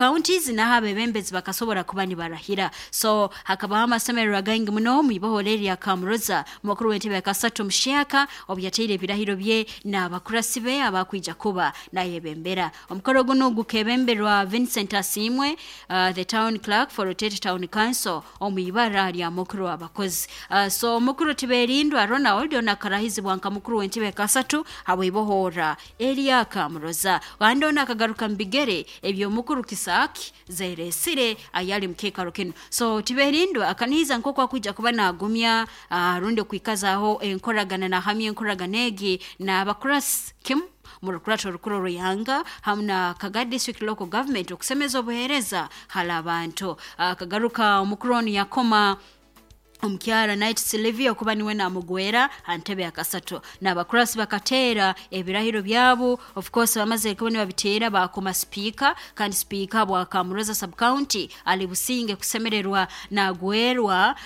Counties naho abebembezi bakasobora kuba nibarahira. So hakabaho amasemererwa gaingi muno mwibohora erya Kamuroza, mukuru w'entebe ya kasatu omuhyaka obu yateire ebirahiro bye n'abakurasi be abakwija kuba nayebembera. Omukoro gunu gukebemberwa Vincent Asiimwe, the town clerk for Rotete Town Council, omu ibara lya mukuru w'abakozi. So omukuru Tiberindwa Ronald ono akarahizibwa nka mukuru w'entebe ya kasatu habw'ibohora erya Kamuroza, kandi ono akagaruka mu bigere eby'omukuru Kisaki Zeresire ayali mukekaro kinu. So Tiberindwa akanihiza nk'oku akwija kuba nagumya, rundi okwikazaho enkoragana, nahamya enkoragana egi n'abakurasi kimu mu rukurato orukuru orw'ihanga hamu na Kagadi District Local Government okusemeza obuheereza hali abantu. Akagaruka omukuru onu yakoma omukyara Night Sylvia okuba niwe namugwera ha ntebe ya kasatu, n'abakurasi bakateera ebirahiro byabo. Of course bamaze kuba nibabiteera, bakoma sipiika, kandi sipiika bwa Kamuroza sub county ali Businge kusemererwa nagwerwa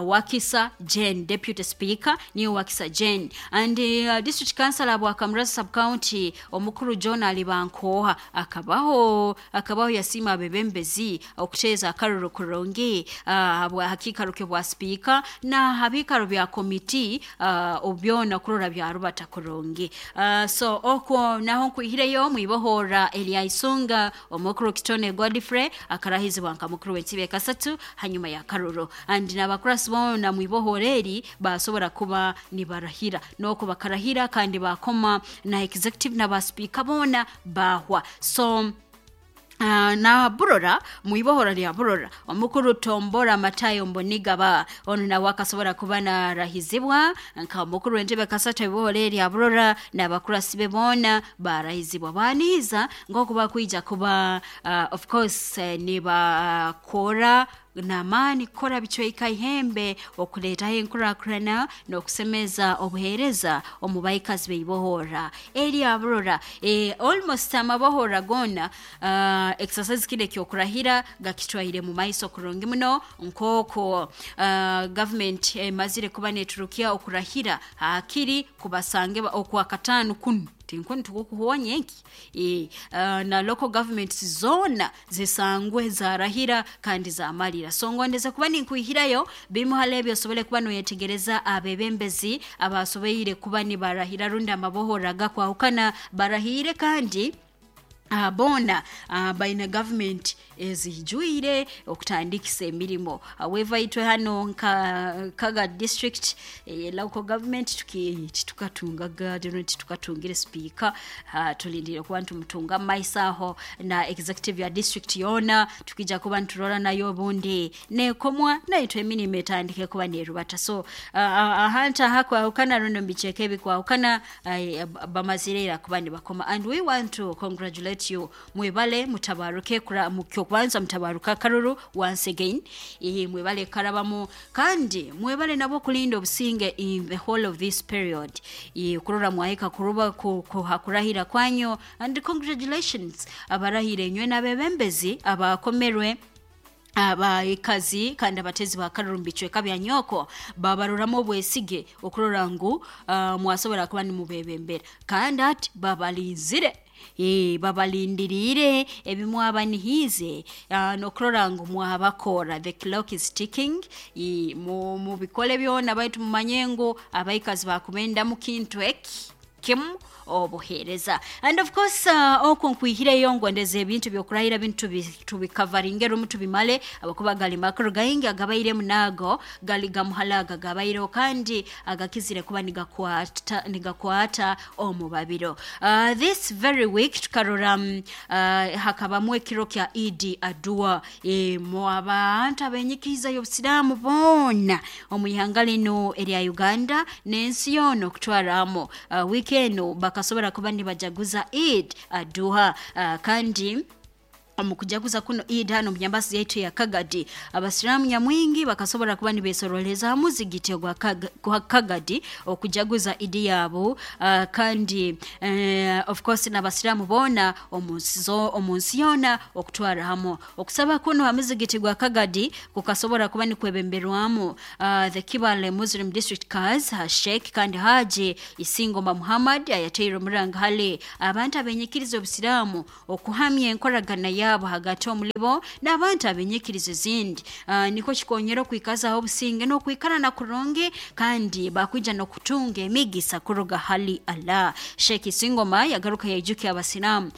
Wakisa Jane, deputy speaker niyo Wakisa Jane, and district councilor bwa Kamuroza sub county omukuru John Alibankoha akabaho yasiima abebembezi okuteeza akaruru kurungi bwa hakiikaro bwa sipiika na habiikaro bya komiti, byona kurora byarubata kurungi. So okwo naho nkwihireyo mwibohora erya Isunga, omukuru Kitone Godfrey akarahizibwa nka mukuru w'entebe kasatu hanyuma ya karuru, and n'abakurasi boona mwibohora eri basobora kuba nibarahira, noko bakarahira kandi bakoma na executive n'abasipiika boona bahwa. So na Burora, mwibohora lya Burora, omukuru Tombora Matayo Mbonigaba ono nawe akasobora kuba narahizibwa nka mukuru w'entebe kasatu ibohora erya Burora, n'abakurasi be boona barahizibwa, banihiza nk'oku bakwija kuba, of course, nibakora n'amaani kukora bicweka ihembe okuleetaho enkurakurana n'okusemeza obuheereza omu baikazi b'eibohora erya Burora. Almost amabohora goona, exercise kinu ekyokurahira gakitwaire mu maiso kurungi muno, nk'oko government emazire kuba neturukya okurahira hakiri kubasange okwakataano kunu tinkuni tukukuhoonya enki, na local governments zoona zisangwe zarahira kandi zamalira. So ngondeze kuba ninkwihirayo bimu hali ebyo osobole kuba noyetegereza abebembezi abasoboire kuba nibarahira rundi amabohora agakwahukana barahiire, kandi boona baine government ezijwire okutandikisa emirimo. However, itwe hano nka Kaga District local government titukatungaga, titukatungire sipiika. Tulindire kuba nitumutunga mu maiso aho, na executive ya district yoona tukija kuba niturora nayo obundi nekomwa naitwe emirimo etandike kuba nerubata. So ahantu ahakwahukana rundi omu bicweka ebikwahukana, bamazire ira kuba nibakoma, and we want to congratulate you. Mwebale mutabaruke, kyokubanza mutabaruka akaruru once again, mwebale karabamu, kandi mwebale nabo kulinda obusinge in the whole of this period, kurora mwahika kuruba hakurahira kwanyu. And congratulations abarahire enywe n'abebembezi abakomerwe abaikazi kandi abatezi ba karuru mu bicweka bya nyoko, babaroramu obwesige okurora ngu mwasobora kuba nimubebembera, kandi ati babalinzire, babalindiriire ebimwabanihiize, n'okurora ngu mwabakora. The clock is ticking. Mubikole byona, baitu mumanye ngu abaikazi bakubendamu kintu eki kimu, obuheereza. And of course, okwo nkwihireyo ngondeza ebintu byokurahira bintu tubikavaringe rumu tubimale, abakuba gali makuru gaingi agabairemu, naago gali gamuhalaga gabaireho kandi agakizire kuba nigakwata omu babiro. This very week tukarora hakabamu ekiro kya Idi Adua, mu abantu abenyikiza y'obusiraamu boona omu ihanga linu erya Uganda n'ensi yoona okutwaramu. Wiiki eno bakasobora kuba nibajaguza Eid Aduha, kandi omu kujaguza kuno Eid hano omu nyambasi yaitu ya Kagadi, abasiraamu nyamwingi bakasobora kuba nibesoroleza ha muzigiti ogwa Kagadi okujaguza Idi yabo, kandi of course n'abasiraamu boona omu nsi yoona okutwara hamu. Okusaba kuno ha muzigiti gwa Kagadi kukasobora kuba nikwebemberwamu the Kibale Muslim District Kaz Sheikh kandi Haji Isingoma Muhammad, ayateire omuranga hali abantu abenyikiriza obusiraamu okuhamya enkoragana yabo. byabo hagati omulibo n'abantu abenyikirizo ezindi. Nikwo kikonyera okwikazaho obusinge n'okwikarana kurungi, kandi bakwija n'okutunga emigisa kuruga hali Allah. Sheikh Isingoma yagaruka yaijukya abasiramu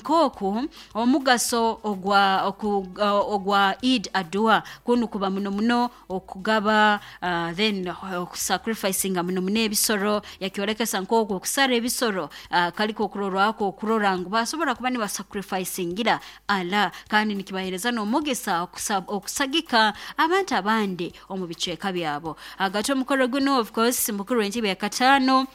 nk'oku omugaso ogwa Eid Adua kunu kuba muno muno okugaba, then okusacrificinga muno muno ebisoro. Yakyolekesa nk'oku okusara ebisoro kaliko okurorwako okurora ngu basobora kuba nibasacrificingira Allah, kandi nikibahereza n'omugisa okusagika abantu abandi omu bicweka byabo. Hagati omukoro guno, of course, mukuru w'entebe ya kataano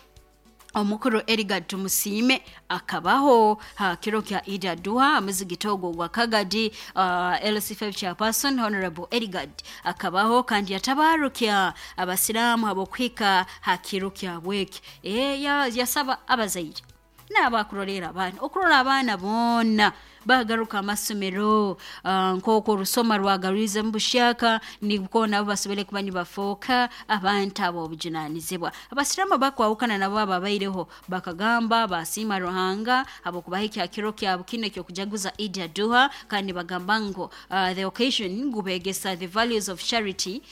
omukuru Edgar Tumusiime akabaho ha kiro kya Eid Adua muzigiti ogwo gwa Kagadi. LC5 chairperson Honorable Edgar akabaho kandi yatabarukya abasiramu abokuhika ha kiro kya bweki. Yasaba abazaire n'abakurolera abaana okurora abaana boona bagaruka amasomero, nk'oku orusoma rwagarwize mu bushyaka, nibwo nabo basobole kuba nibafooka abantu abo obujunanizibwa. Abasiramu bakwahukana nabo ababaireho bakagamba basiima Ruhanga habwokubaha ekyakiro kyabo kino ekyokujaguza Eid Adua, kandi bagamba ngu the occasion gubegesa the values of charity,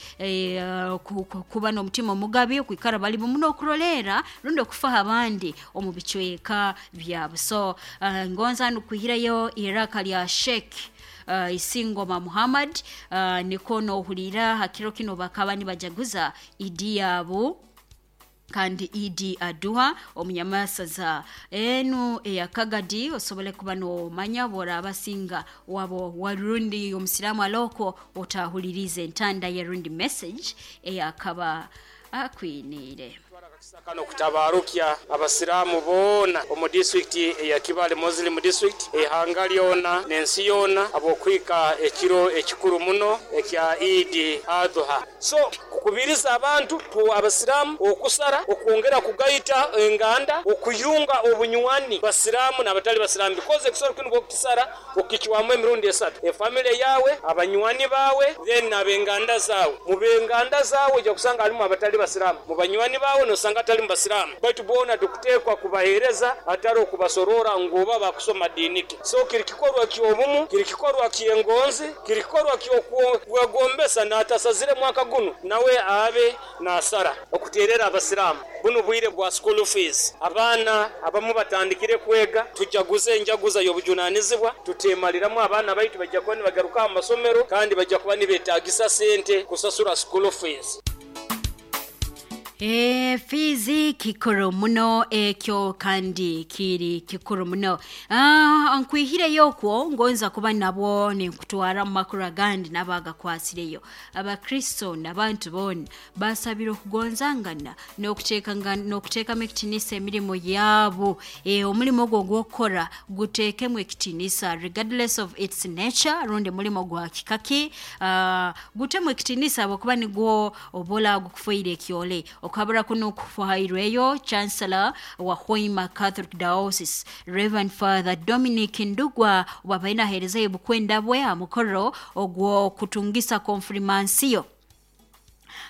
kuba n'omutima omugabi, okwikara bali bumu n'okurolera rundi okufaho abandi omu bicweka byabo. So ngonza nukwihirayo iraka lya Sheikh Isingoma Muhammad, niko nohulira hakiro kino bakaba nibajaguza idi yabo kandi Eid Adua omunyamasaza enu eyakagadi. Osobole kuba nomanya boraba singa wabo warundi omusiramu aloko otahulirize entanda ya rundi message eyakaba akwiniire. Kano kutabarukya abasiramu boona omu district eya Kibale Muslim District, ehanga lyona n'ensi yoona, abokwika ekiro ekikuru muno ekya Eid Adha. So kukubiriza abantu abasiramu okusara, okwongera kugaita enganda, okuyunga obunywani basiramu n'abatali basiramu, because ekisoro kinu bwokukisara okichwamu emirundi esatu: efamily yawe, abanywani bawe, then n'abenganda zawe. Mu benganda zawe ojja kusanga halimu abatali basiramu, mu banywani bawe nosanga atali mu basiramu, baitu boona tukuteekwa kubahereza atari okubasorora ngu oba bakusoma diiniki. So kiri kikorwa ky'obumu, kiri kikorwa ky'engonzi, kiri kikorwa ky'okwegombesa n'atasazire mwaka guno nawe abe nasara. Okuterera abasiramu buno bwire bwa school fees, abaana abamu batandikire kwega, tujaguze enjaguza y'obujunanizibwa, tutemaliramu abaana baitu bajja kuba nibagaruka mu masomero kandi bajja kuba nibetagisa sente kusasura school fees. Fizi kikuru muno ekyo kandi kiri kikuru muno. Nkwihireyo okwo ngonza kuba nabwo ninkutwara mu makuru agandi n'abagakwasireyo. Abakristo n'abantu boona basabire okugonzangana n'okuteekamu ekitinisa emirimo yabo. Omulimo ogwo ogw'okukora guteekemu ekitinisa regardless of its nature, rundi mulimo gwa kikaki, gutemu ekitinisa habwokuba nigwo obola gukufoire ekyole. Okabura kuno kuhairweyo Chancellor wa Hoima Catholic Diocese Reverend Father Dominic Ndugwa wabaina aherezayo bukwenda bwe amukoro ogwo kutungisa konfirmansiyo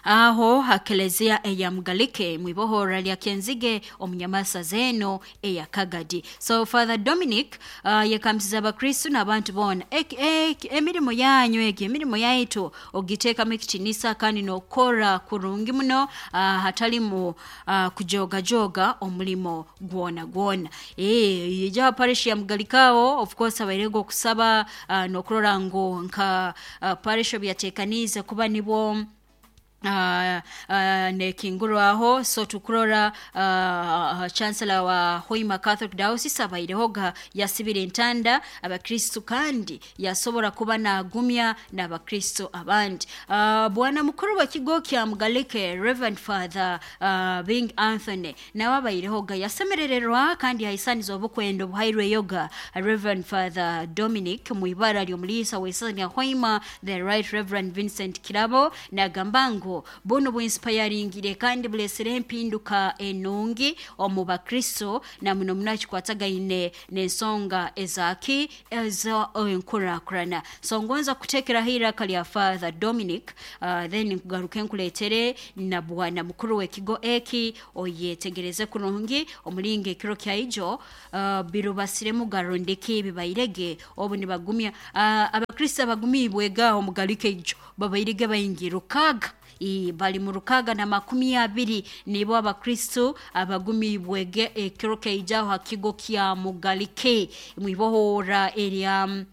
aho hakelezia eya Mugalike mwibohora lya Kenzige omunyamasa zeno eya Kagadi. So Father Dominic yekamsiza abakristu n'abantu boona emirimo yanyu egi emirimo yaitu ogiteekamu ekitinisa kandi n'okukora kurungi muno, hatalimu kujogajoga omulimo gwona gwona. Ija parish ya Mugalikao of course abairego okusaba n'okurora ngu nka parish obyateekaniize kuba nibwo nekingurwaho. So tukurora Chancellor wa Hoima Catholic Diocese abairehoga yasibira entanda abakristu kandi yasobora kuba nagumya n'abakristo abandi. Bwana mukuru wa kigo kya Mugalike Reverend Father Bing Anthony nawe abairehoga yasemerererwa kandi yahisaniza obukwenda obuhairweyoga Reverend Father Dominic mu ibara ly'omuliisa w'esaza lya Hoima the Right Reverend Vincent Kirabo, nagamba ngu Obutabo buno bwinspiringire kandi bulesere empinduka enungi omu bakristo na muno muno kikwatagaine n'ensonga ezaki ezo enkurakurana. So ngonza kutekeraho iraka lya Father Dominic, then nkugaruke nkuletere na bwana mukuru w'ekigo eki oyetegereze kurungi omulingo ekiro kyaijo birubasiremu garondeki bibairege obu nibagumya abakristo abagumibwega omugalike ijo babairege baingi 600 bali mu 620 nibo abakristo abagumibwege ekiro kyaijaho hakigo kya Mugalike mwibohora erya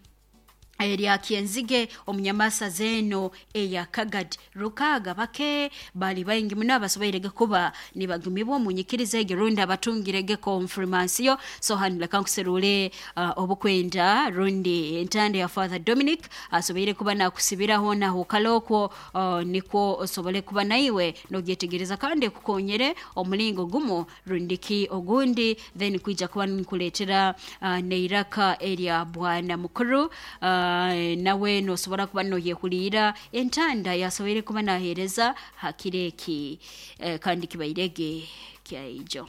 erya Kyenzige omunyamasa zeno eya Kagadi. 600 bake bali baingi muno abasoboirege kuba nibagumibwa omunyikiriza ege rundi abatungirege konfirmansiyo. So hanu leka nkuserule obukwenda rundi entanda ya Father Dominic asoboire kuba nakusibiraho naho kalokwo nikwo osobole kuba naiwe nogyetegereza kandi kukonyere omulingo gumu rundiki ogundi, then kwija kuba nkuletera neiraka erya bwana mukuru nawe nosobora kuba noyehulira entanda yasoboire kuba nahereza hakireki kandi kibairege kyaijo.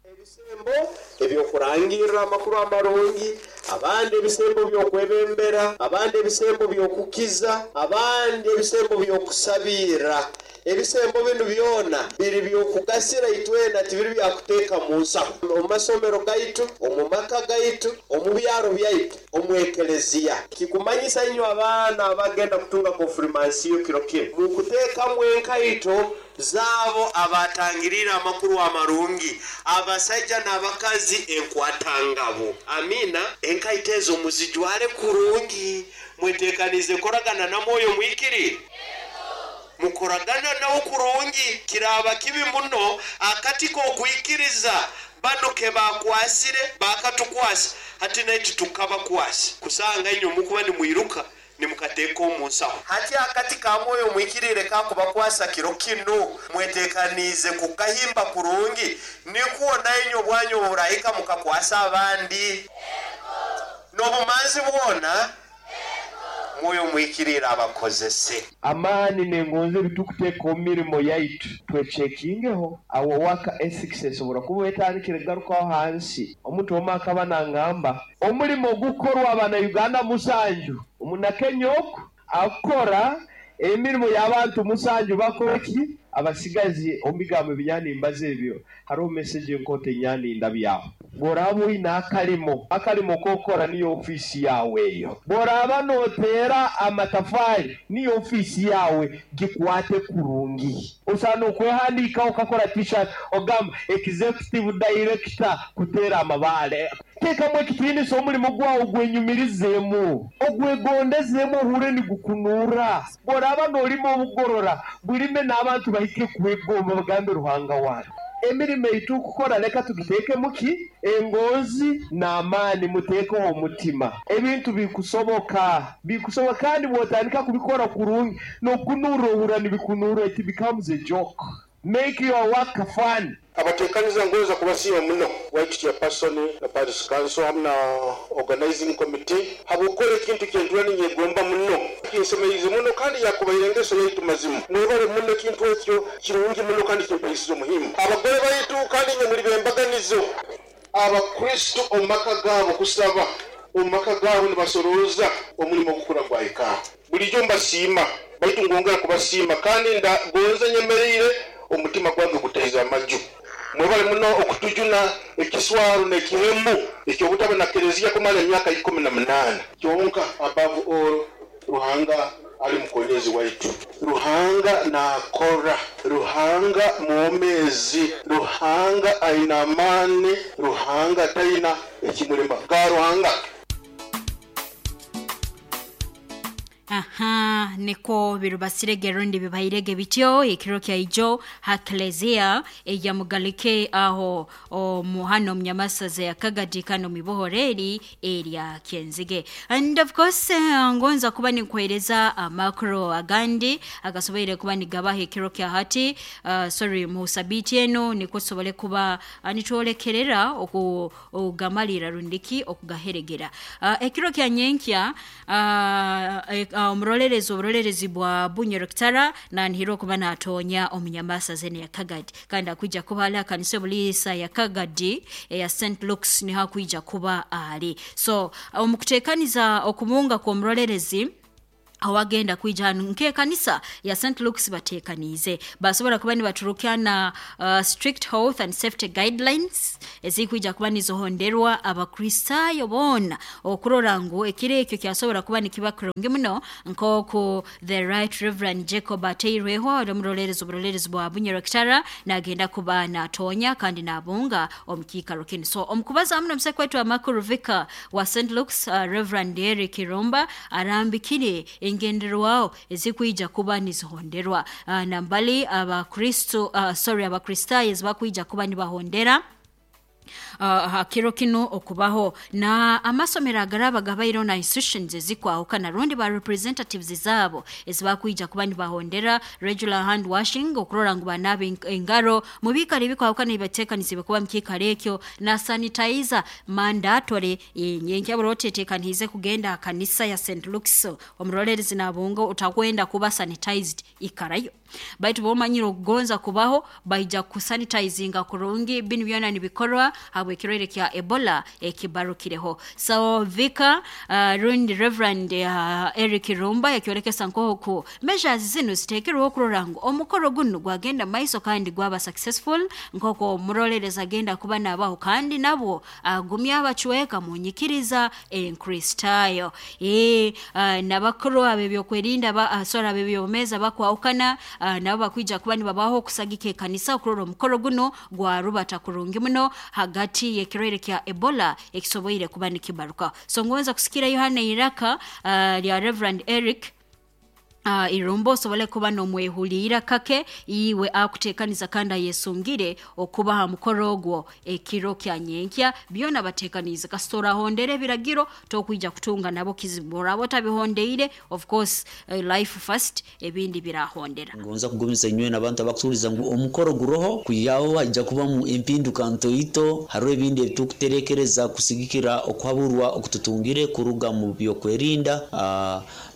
Ebisembo ebyokurangirira amakuru amarungi, abandi ebisembo byokwebembera, abandi ebisembo byokukiza, abandi ebisembo byokusabira. Ebisembo binu byona biri byokugasira itwena, tibiri byakuteeka mu nsaho. Omu masomero gaitu, omu maka gaitu, omu byaro byaitu, omu ekeleziya. Kikumanyisa inywe abaana abagenda kutunga konfirmansiyo kiro kinu, mukuteekamu enkaito zaabo abatangirira amakuru amarungi, abasajja n'abakazi enkwatangabo. Amina. Enkaito ezo muzijwale kurungi, mwetekanize koragana na mwoyo mwikiri, mukoragana nawo kurungi. Kiraba kibi muno akati kokwikiriza bano ke bakwasire bakatukwasa hati naitu tukabakwasa kusanga inywe mukuba nimwiruka nimukateeka omu nsaho. Hati akati ka mwoyo mwikirire kakubakwasa kiro kinu mwetekanize kukahimba kurungi, nikwo nainywe bwanyu burahika mukakwasa abandi n'obumanzi bwona mwoyo mwikirira abakozese. Amaani nengonze bitukuteeka omu mirimo yaitu twechekingeho awo waka ethics esobora kuba etandikire garukaho hansi. Omuntu omwe akaba nangamba omulimo gukorwa abana Uganda 7 omunakenya oku akora emirimo y'abantu 7 bakoreki abasigazi omu bigambo ebinyanimbaza ebyo hariho message enkoto enyaninda byaho. Bworaba oine akalimo kokora niyo ofiisi yawe eyo, bworaba noteera amatafari niyo ofiisi yawe, gikwate kurungi. Osana okwehandiikaho okakora t-shirt ogamba executive director kuteera amabaale. Teekamu ekitiinisa omulimo gwawe gwenyumirizeemu, ogwegondezemu ohure nigukunura. Bworaba noolima obugorora bulime n'abantu bahike kwegomba bagambe Ruhanga wange. Emirimo eitukukora leka tugiteekemu ki engonzi n'amaani, muteekeho omutima. Ebintu bikusoboka bikusoboka, kandi bwotandika kubikora kurungi nokunura ohura nibikunura, it becomes a joke. Make your work fun. Abatekaniza ngonza kubasiima muno White Chairperson na Parish Council hamwe na organizing committee habwokukora ekintu kyentura ninyegomba muno kinsemeize muno kandi yakubaire engeso yaitu mazimu. Mwebale muno ekintu ekyo kirungi muno kandi kimpaisize omuhimu. Abagore baitu kandi inywe muli bembaganizo. Abakristo omu maka gaabo kusaba, omu maka gaabo nibasorooza omulimo ogukura gwahika. Bulijjo mbasiima baitu ngongera kubasiima kandi ndagonza nyemereire omutima gwange gutaiza amaju. Mwebale muno okutujuna ekiswaro n'ekihemu ekyobutaba na kereziya kumara emyaka 18. Kyonka above all Ruhanga ali mukonyezi waitu. Ruhanga nakora, Ruhanga mwomezi, Ruhanga aina amani, Ruhanga taina ekimulema ga Ruhanga. Aha, niko birubasirege rundi bibairege bityo ekiro kyaijo ha Klezia eya Mugalike aho omuhano mnyamasaza ya Kagadi kano mibohoreri erya Kyenzige. And of course ngonza kuba nikuhereza amakro agandi agasoboire kuba nigabaha ekiro kya hati sorry mu sabiti eno niko sobole kuba nitwolekerera okugamalira rundiki okugaheregera ekiro kya nyenkya Omurolerezi oburolerezi bwa Bunyoro Kitara nanihirwa kuba natonya omunyamasa zene ya Kagadi, kandi akwija kuba ali akanisa bulisa ya Kagadi ya St. Luke's niho akwija kuba ali. So omukutekaniza okumunga kw'omurolerezi awagenda kwija hanu nk'ekanisa ya St. Luke's batekaniize basobola kuba nibaturukana strict health and safety guidelines ezikwija kuba nizohonderwa Abakristayo boona okurora ngu ekiro ekyo kyasobola kuba nikiba kurungi muno, nk'oku the Right Reverend Jacob Ateirweho omurolerezi oburolerezi bwa Bunyoro Kitara nagenda kuba natonya kandi nabunga omu kiikaro kinu. So omukubaza hamu n'omuseke waitu amakuru, vicar wa St. Luke's Reverend Eric Irumba arambikire engenderwaho ezikwija kuba nizihonderwa nambali Abakristo, sorry, Abakristayo ezibakwija kuba nibahondera hakiro kino okubaho, na amasomero agaraba gabaireho na institutions ezikwahukana rundi ba representatives zabo ezibakwija kuba nibahondera regular hand washing, okurora ngu banaaba engaro mu biikaro ebikwahukana ebibateekanisiibwe kuba mu kiikaro ekyo, na sanitizer mandatory. Nyenkya otetekaniize kugenda aha kanisa ya St. Luke's, omurolerezi nabunga otakwenda kuba sanitized, ikarayo, baitu bomanyire okugonza kubaho baija kusanitizinga kurungi. Binu byona nibikorwa habw'ekirwaire kya Ebola ekibarukireho. So vicar rundi Reverend Eric Rumba yakyorekesa nk'oku measures zinu ziteekerweho okurora ngu omukoro gunu gwagenda maiso kandi gwaba successful, nk'oku omurolerezi agenda kuba nabaho kandi nabwo agumya abacweka mu nyikiriza Enkristayo. Nabakuru ab'ebyokwerinda sorry, ab'ebyobumeza bakwahukana nabo bakwija kuba nibabaho okusagika ekanisa okurora omukoro guno gwarubata kurungi muno hagati y'ekirwaire kya Ebola ekisoboire kuba nikibaruka. So ngonza kusikira Yohana iraka lya Reverend Eric Irumba osobole kuba nomwehuliira kake iwe akutekaniza kandi ayesungire okuba ha mukoro ogwo ekiro kya nyenkya. Byona batekaniize, kasita orahondera ebiragiro tokwija kutunga nabo kizibu, oraba otabihondeire, of course, life first, ebindi birahondera. Ngonza kugumiza inywe n'abantu abakutuliza ngu omukoro guroho kwihaho hajja kubamu empinduka ntoito. Hariho ebindi ebitukuterekereza kusigikira okuhaburwa okututungire kuruga mu byokwerinda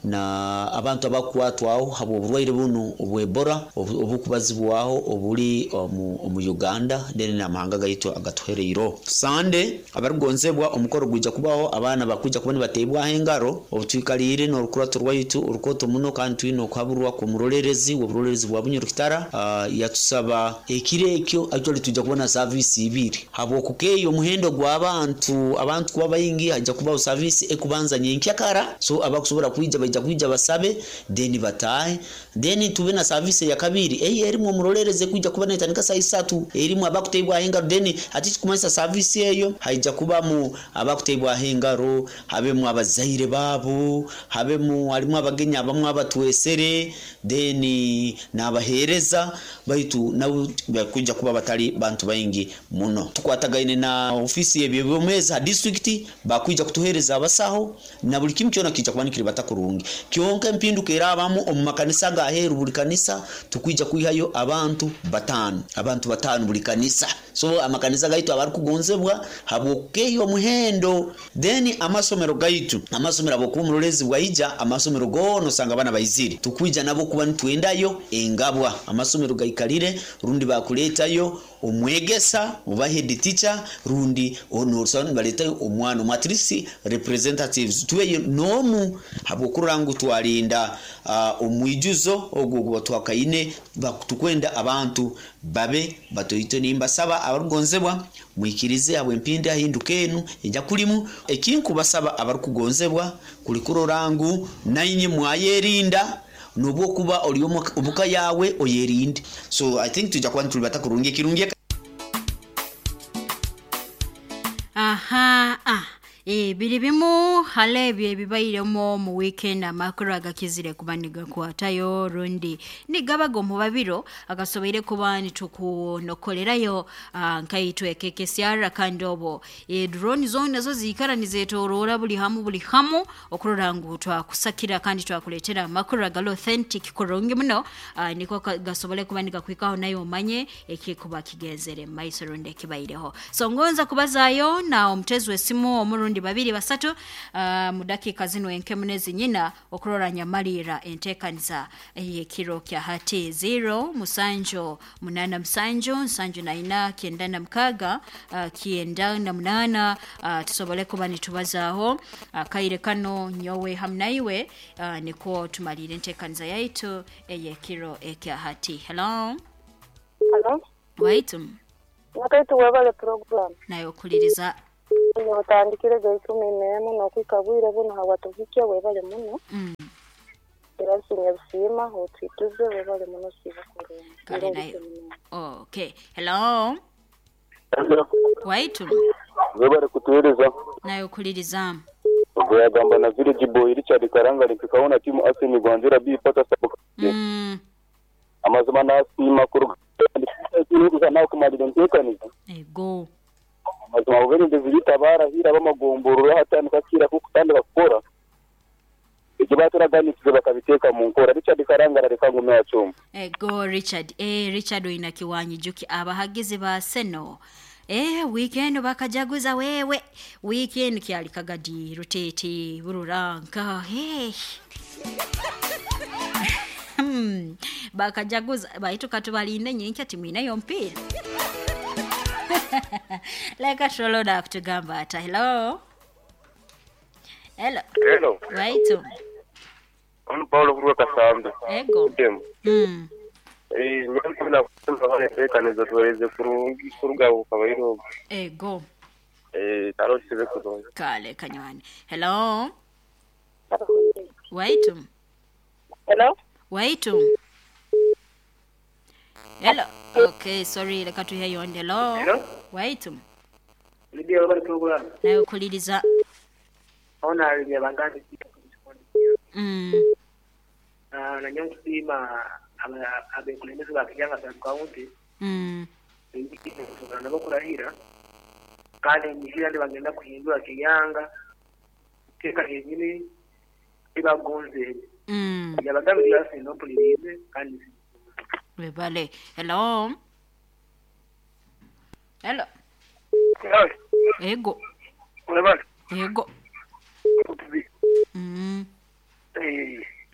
na abantu abakwatwaho habw'oburwaire bunu obw'Ebola obukubazibwaho obuli omu Uganda then n'amahanga gaitu agatuhereireho. Sande abarukugonzebwa, omukoro gwija kubaho, abaana bakwija kuba nibateebwaho engaro obutwikaliire n'orukurato rwaitu orukoto muno, kandi twine okuhaburwa kw'omurolerezi w'oburolerezi bwa Bunyoro Kitara. Yatusaba ekiro ekyo actually twija kuba na service ibiri habw'okukeeya omuhendo gw'abantu, abantu kuba baingi, hajja kubaho service ekubanza nyenkyakara, so abakusobora kwija baija kwija basabe then bataahe, then tube na service ya kabiri eyi erimu omurolerezi kwija kuba netandika saa 3 erimu abakuteebwaho engaro. Then hati kikumanyisa service eyo haija kubamu abakuteebwaho engaro, habemu abazaire baabo, habemu harimu abagenyi abamu abatwesere, then n'abaheereza baitu nabo bakwija kuba batali bantu baingi muno. Tukwatagaine na ofiisi y'ebyobwomeezi ha district, bakwija kutuheereza abasaho na buli kimu kyona kijja kuba nikiribata kurungi. Kyonka empinduka erabamu omu makanisa agaheeru, buli kanisa tukwija kwihayo abantu 5, abantu 5 buli kanisa. So amakanisa gaitu abarukugonzebwa habw'okukeeya omuhendo. Then amasomero gaitu, amasomero habwokuba omurolezi bwaija, amasomero goona osanga abaana baizire, tukwija nabo kuba nitwendayo engabwa, amasomero gaikalire rundi bakuleetayo omwegesa oba head teacher rundi onosanga nibaletayo omwana omu, at least representatives tubeyo n'omu, habwokurora ngu twalinda omwijuzo ogwo oguba twakaine, tukwenda abantu babe batoito. Nimbasaba abarukugonzebwa mwikirize habw'empinda hinduka enu ejya kulimu. Ekinkubasaba abarukugonzebwa kuli kurora ngu nainye mwayerinda, nobwokuba oli omuka yawe oyerinde. So I think tujja kuba nitulibata kurungi ekirungi. Aha, biri bimu hali ebyo ebibairemu mu weekend, amakuru agakizire kuba nigakwatayo rundi nigabaga omu babiro agasoboire kuba nitukunokolerayo nkaitwe kekesyara, kandi obo drone zona zo ziikara nizetoroora buli hamu buli hamu okurora ngu twakusakira kandi twakuleetera amakuru agali authentic kurungi muno, niko gasobole kuba nigakwikaho naye omanye ekikuba kigenzere maiso rundi ekibaireho. So ngonza kubazaayo na omutezi w'esimu omurundi. abandi babiri basatu mu dakika zino enkemu nezinyina okurora nyamalira entekaniza eyekiro kya hati 0 7 8 7 4 96 98 tusobole kuba nitubazaaho kaire kano nyowe hamnaiwe niko tumalire entekaniza yaitu eyekiro ekya hati. Hello. Hello. Waitum. Wakati wabale program. Nayo kuliriza. Notandikire ga 11 nokwikabwire buno hawatuhikia webale muno. Era busima otwituze webale muno siba kurungi. Nayo. Okay. Hello. Hello. Waitum. Webale kutueleza. Nayo kuliriza. Ogamba na village boy Richard Karanga nikikaona timu Arsenal gwanzira bi pata sababu. Amazima nasima kuruga nawe kumalira enteekaniza. Ego. Amazima obuberendezi bitabara hira bamagomborora hatandika kira kukutandika kukora. Ekyo baturaganisize bakabiteeka mu nkora. Richard Karanga arareka ngume yacumba. Ego Richard. Richard oyina kiwanyi juki abahagizi ba Arsenal. Weekend bakajaguza wewe. Weekend kyali kagadi rutete bururanka. Hey. Bakajaguza baitu katubalinde nyenkya timwina yo mpira. Leka troloda kutugamba ata. Hello. Hello. Hello. Right. Ono Paulo kuruka Kasambe. Ego. Nyamuna kusema tekaniza tuweze kurungi kuruga ukabairo. Ego. Taro sibe kurungi. Kale kanywani. Hello. Wait. Hello. Wait. Hello. Okay, sorry, leka tuhe yonde. Hello. Hello. Wait. Libia wabali program. Nayo kuliriza. Ona libia bangani. Na nyangu sima abekulembeze bakijanga sa county. Nabo kurahira. Kandi nyihira ndi bagenda kuhindura kiyanga. Teka yenyini ibagonze. Yabagambye yase no pulirize kandi Webale. Hello. Hello. Hello. Ego. Webale. Ego.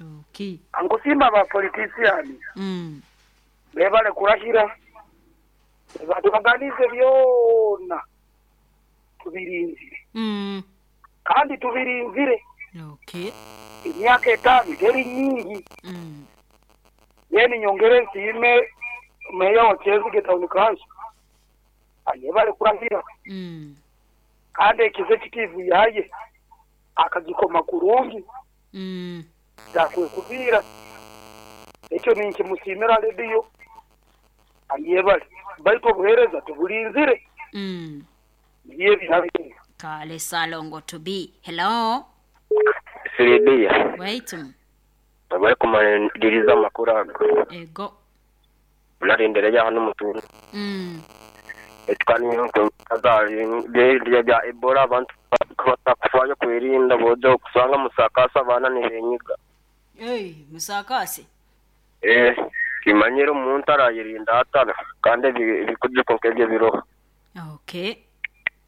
Okay. Angosimba ba politician. Bebale kurahira. Batubaganize byona. Tubirinzire. Kandi tubirinzire. Okay. Imyaka 5 teri nyingi. Yeni nyongere nsime meya wa Kyezige Town Council. Ayebale kurahira. Kandi executive yaye akagikoma kurungi. Dakwe kubira. Ekyo ninki musimira radio. Ayebale baito buhereza tubulinzire. Ndiye binabi. Kale salongo to be. Hello. Siridia. Wait. Bari kumaliriza amakuru ago. Ego. Unarendereya hano mutuntu. Etukaniyo kazari bya Ebola abantu batakufayo kwirinda bojo kusanga musakasa abana nibenyiga. Musakasi. Kimanyira umuntu arayirinda atara kandi bikujuko nk'ebyo biroho. Okay.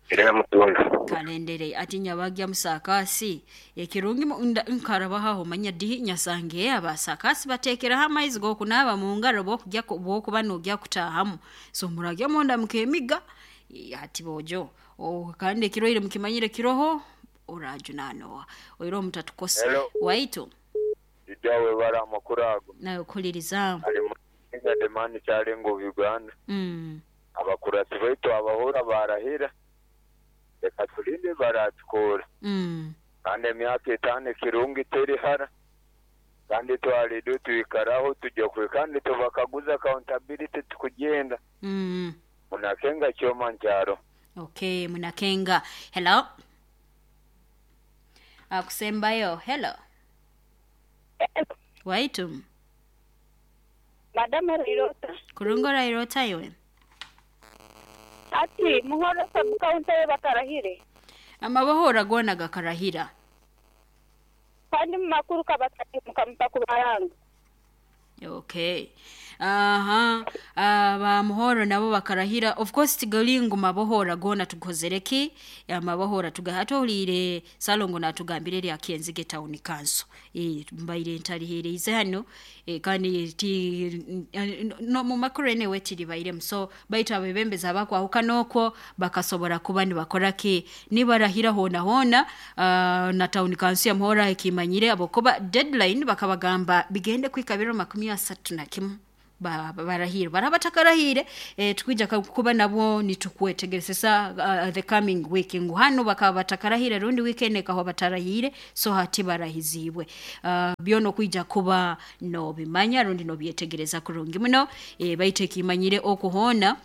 Era mutuntu. Kalendere ati nyabagya musakasi ekirungi nkarabaho manya dihi nyasange abasakasi batekera amaizi go kunaba mu ngaro bokujya bokuba nogya kutahamu so muragya monda mukemiga ati bojo kandi kiroire mukimanyire kiroho orajunanoa oiro mutatukosa waito idawe bara makurago nayo kuliriza ali mu demani cyarengo Uganda abakurasi baitu abahora barahira reka tulinde baratukora. Kandi emyaka 5 kirungi teri hara. Kandi twalidu tuikaraho tujya kwe kandi tubakaguza accountability tukugenda. Munakenga kyoma nkyaro. Okay, munakenga. Hello. Akusembayo. Hello. Waitum. Madam Rairota. Kurungo Rairota yowe. Ati muhora sabuka untaye bakarahire. Amabahora gona gakarahira. Kandi makuru kabatari mukampa kubaranga. Okay. Aha, bamuhoro nabo bakarahira. Of course tigalingu mabohora gona tukozereki amabohora tugahatolire salongo natugambire lya Kyenzige Town Council. Mbaire ntalihereze hano, kandi ti no mu makuru ene wetiri bairemu. So baitu abebembezi abakwahuka nokwo bakasobora kuba nibakora ki nibarahira hona hona. Na Town Council ya Muhora ekimanyire abokuba deadline bakabagamba bigende kwikabiro 31 barahire barabatakarahire. Tukwija kuba nabo nitukwetegeresa the coming week ngu hano bakaba batakarahire rundi weekend ekaho batarahire, so hati barahizibwe. Byono kwija kuba no bimanya rundi no byetegereza kurungi muno. Baitu ekimanyire okuhona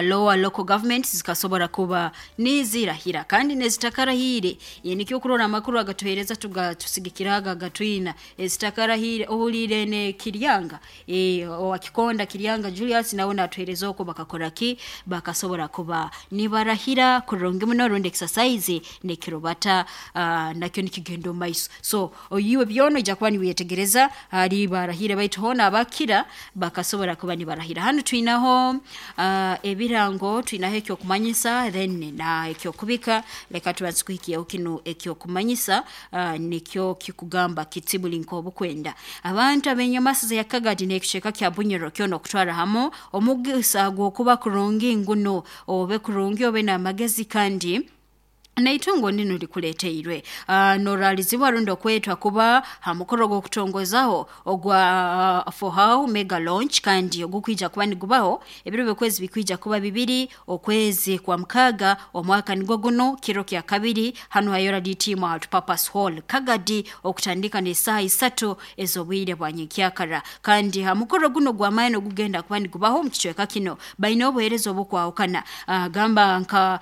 lower local governments zikasobora kuba nizirahira kandi nezitakarahire. Nikyo kurora amakuru agatuhereza tusigikiraga gatwina ezitakarahire ohulire ne Kiryanga, owakikonda Kiryanga Julius nawe natuhereza oko bakakora ki bakasobora kuba nibarahira kurungi muno rundi exercise nekirobata nakyo nikigendo maiso. So oyiwe byono ija kuba niwetegereza hari barahire baitu hona abakira bakasobora kuba nibarahira. Hano twinaho ebirango, twinaho ekyokumanyisa then na ekyokubika. Leka tubanze kuhikiyaho kino ekyokumanyisa, nikyo kikugamba kitibuli nk'obukwenda abantu abenyamasiza ya Kagadi n'ekicweka kya Bunyoro kyono okutwara hamu omugisa gw'okuba kurungi nguno obe kurungi obe n'amagezi kandi naitungo nino likuleteirwe. Noralizibwa rundo kwetwa kuba hamukoro gwokutongozaho ogwa For How Mega Launch kandi ogukwija kuba nigubaho ebiro byokwezi bikwija kuba 2 okwezi kwa 6 omwaka nigwo guno kiro kya 2 hano hayora DT Multipurpose Hall Kagadi okutandika ne saa 3 ezobwire bwa nyekyakara. Kandi hamukoro guno gwa maino gugenda kuba nigubaho mu kicweka kino baine obuheereza obukwahukana, gamba nka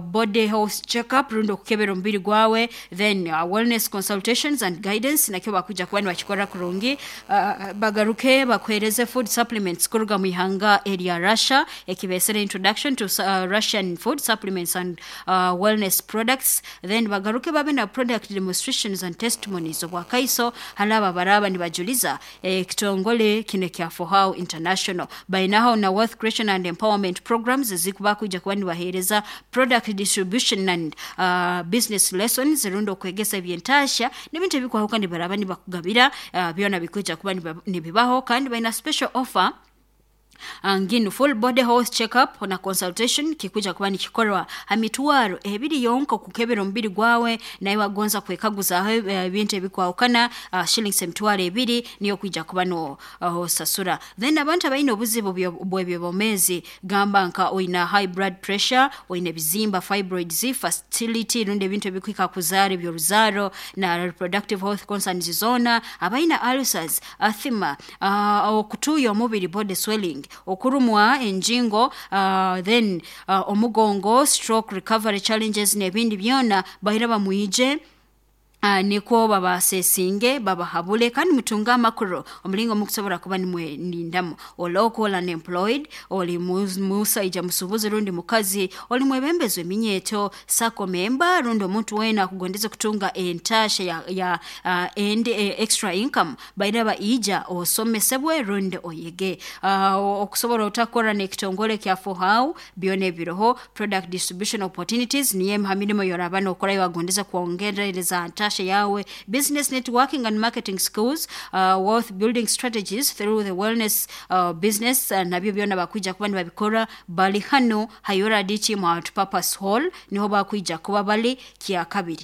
body health check up rundo kukebera omubiri gwawe, then wellness consultations and guidance nakyo bakuja kuba nibakikora kurungi. Bagaruke bakuhereze food supplements kuruga mu ihanga erya Russia ekibesere introduction to Russian food supplements and wellness products. Then bagaruke babe na product demonstrations and testimonies obwakaiso halaba baraba nibajuliza ekitongole kino kya For How International. Bainaho na wealth creation and empowerment programs ezikuba kuja kuba nibahereza product distribution and business lessons rundo kwegesa ebyentasha n'ebintu ebikwahuka nibaraba nibakugabira, byona bikuja kuba nibibaho. Kandi baina special offer nginu full body health check up na consultation kikuja kuba nikikorwa hamitwaro 2 yonka kukebera omubiri gwawe naye wagonza kwekaguza ebintu ebikwahukana, shillings 2,000 niyo kuja kuba no sasura. Then abantu abaine obuzibu bw'ebyobomezi gamba nka oina high blood pressure, oina bizimba fibroids, fertility rundi ebintu ebikwika kuzara eby'oruzaro na reproductive health concerns zona, abaina ulcers, asthma, okutuya omubiri body swelling, okurumwa enjingo, then omugongo, stroke recovery challenges n'ebindi byona bahira bamuije, niko babasesinge babahabule kandi mutunga amakuru omulingo mukusobora kuba nimwe nindamu. Oloko unemployed, oli musaija musubuzi rundi mukazi, oli mwebembezo eminyeto sako memba rundi omuntu wena akugondeza kutunga entasha ya and extra income bairaba ija osomesebwe rundi oyege. Okusobora otakora n'ekitongole kya For How byone biroho product distribution opportunities niye hamirimo yorabana okorayo agondeza kuongereza ntasha yawe, business networking and marketing skills, wealth building strategies through the wellness business, nabyo byona bakwija kuba nibabikora bali hano hayora DT Multipurpose Hall niho bakwija kuba bali kya 2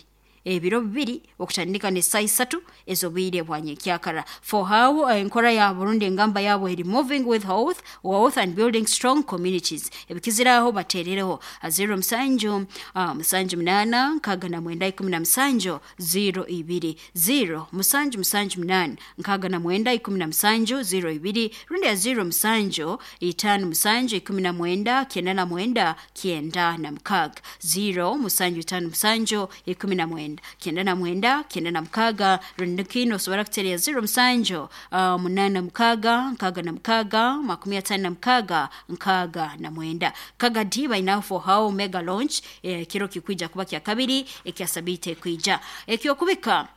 ebiro 2 okutandika ne saa 3 ezobwire bwa nyekyakara. For How enkora ya Burundi engamba yabo eri moving with health, wealth and building strong communities. Ebikiziraho baterereho 0 7 7 8 69 17 02 0 7 7 8 69 17 02 rundi ya 0 7 5 7 19 99 96 0 7 5 7 19 99 96 rundi kino sobora kutereya 0 7 8 6 6 56 69. Kagadi baina For How Mega Launch, kiro kikwija kuba kya 2 ekya sabite kwija ekyokubika.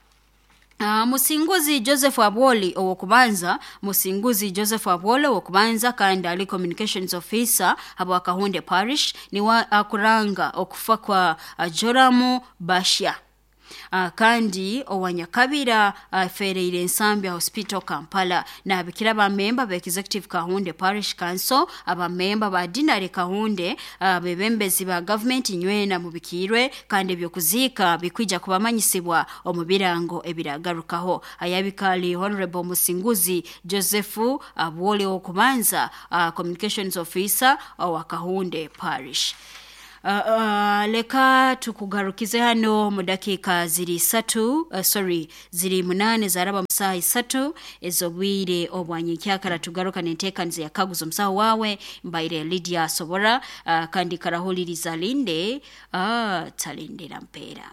Musinguzi Joseph Abwoli owokubanza, Musinguzi Joseph Abwoli owokubanza kandi ali communications officer habwa Kahunde Parish niwe akuranga okufa kwa Joramu Bashya. Kandi owanyakabira afereire Nsambya Hospital Kampala. Nabikira abamemba ba Executive Kahunde Parish Council, abamemba ba Dinari Kahunde, abebembezi ba gavumenti nywena mubikirwe, kandi ebyokuziika bikwija kubamanyisibwa omu birango ebiragarukaho. Ayabikali Honorable Musinguzi Joseph Abwole owokubanza, communications officer owa Kahunde Parish. Leka tukugarukize hano mu dakiika ziri 3, sorry, ziri 8 zaraba musaha 3 ez'obwire obwanyenkyakara. Tugaruka n'enteekaniza ya kaguzo omusaho wawe mbaire Lydia Sobora, kandi karahuliriza linde, talindira mpeera.